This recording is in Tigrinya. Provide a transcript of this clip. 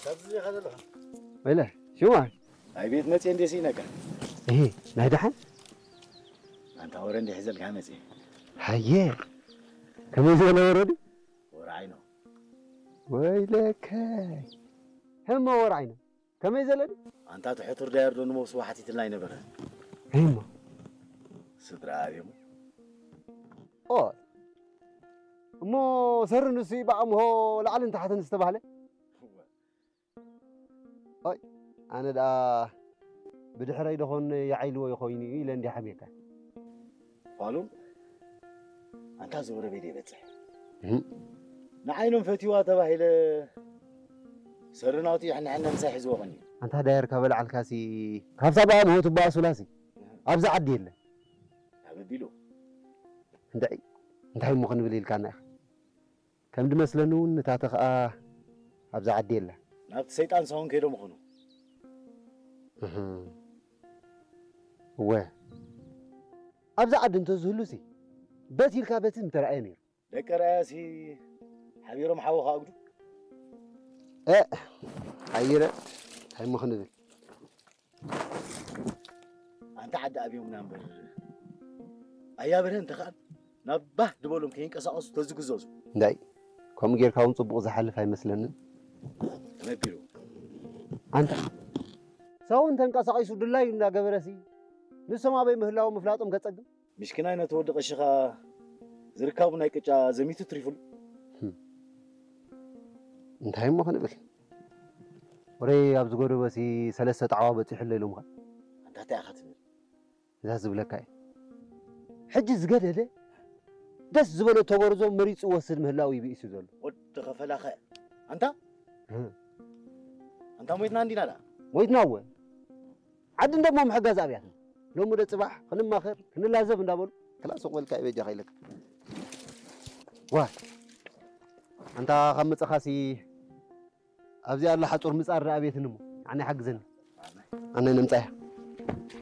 ኣብዚ ኢኻ ዘለኻ? ወይለ፣ ሽማ? ኣይ ቤት መጽየ እንዴ ስኢነካ? እህ፣ ናይ ደሓን? ኣንታ ወረ እንዴ ሒዘልካ መጽየ? ሃየ፣ ከመይ ዝበለ ወረ ድዩ? ወረ ዓይኖ። ወይለከ፣ ህመ ወረ ዓይኖ። ከመይ ዘለ ድዩ? ኣንታ እቲ ሕቱር ዳየር ዶ ንመውስቦ ሓቲትልና ኣይነበረ? እሞ? ስድራ ኣብዮም። ኦ፣ እሞ ሰሪ ንሱ እዩ ብኣምሆ ላዕልን ታሕትን ዝተባህለ? ኦይ፣ ኣነ ደኣ ብድሕረይ ደኾን ይዓይልዎ ይኾይኑ እዩ ኢለ እንዲየ ሓሚየካ። ፋሉን፣ ኣንታ ዝወረደ ይበጽሕ። እህ። ንዓይኖም ፈትዋ ተባሂለ ሰሪ ናቱ ይሕንሕነ ምሳይ ሒዝዎ ቀንዩ። ኣንታ ዳየር ካበልዓልካሲ፣ ካብታ ብኣምሆ ትበኣሱላሲ፣ ኣብዚ ዓዲ የለ። ኣበቢሉ። እንታይ፣ እንታይ እሞ ክንብል ኢልካና ኢኻ? ከም ድመስለኒ እውን ንታተ ኸኣ ኣብዛ ዓዲ የላ። ናብቲ ሰይጣን ሳውን ከይዶም ይኾኑ። እህ። እወ። ኣብዛ ዓዲ እንተዝህሉሲ፣ በት ኢልካ በቲ ምተረኣየ ነይሩ። ደቂ ረኣያሲ ሓቢሮም ሓዊ ከኣጉዱ። እ፣ ሓይረ፣ እንታይ እሞ ክንብል? ኣንታ ዓዲ ኣብዮምና እምበር። ኣያ በርሀ እንተ ኸኣል ናብ ባህ ድበሎም ከይንቀሳቐሱ ተዝግዘዙ። እንዳይ፣ ከምኡ ጌርካ እውን ጽቡቕ ዝሓልፍ ኣይመስለንን። ተመቢሩ። ኣንታ፣ ሳውን ተንቀሳቒሱ ድላዩ እንዳገበረሲ፣ ንሶም ኣበይ ምህላዎም ምፍላጦም ከጸግም። ምሽኪናይ ነቲ ወዲ ቀሺ ኸኣ ዝርካቡ ናይ ቅጫ ዘሚቱ ትሪፉሉ። ህም። እንታይ እሞ ክንብል? ወረይ ኣብ ዝጎደበሲ ሰለስተ ጣዕዋ በጺሑለ ኢሎምኻ። ኣንታ እንታይ ኢኻ ትብል? እዛ ዝብለካ እየ። ሕጂ ዝገደደ ደስ ዝበሎ ተጎርዞ መሪጹ ወስድ ምህላው እዩ ብኢሱ ዘሎ። ወዲ ኸፈላኸ። ኣንታ? ህም። ኣንታ ሞይትና እንዲና ደኣ? ሞይትና እወ። ዓዲ እንደሞ ምሕጋዝ ኣብያትና። ሎሚ ዶ ጽባሕ ክንማኸር፣ ክንላዘብ እንዳበሉ። ክላ ሱቕ በልካ እዩ በጃኻ ኢለካ። ዋ፣ ኣንታ ካብ መጸኻሲ ኣብዚ ኣላ ሓጹር ምጻር ደኣ ቤትን እሞ። ኣነ ይሓግዘኒ። ኣነ ነምጻያ።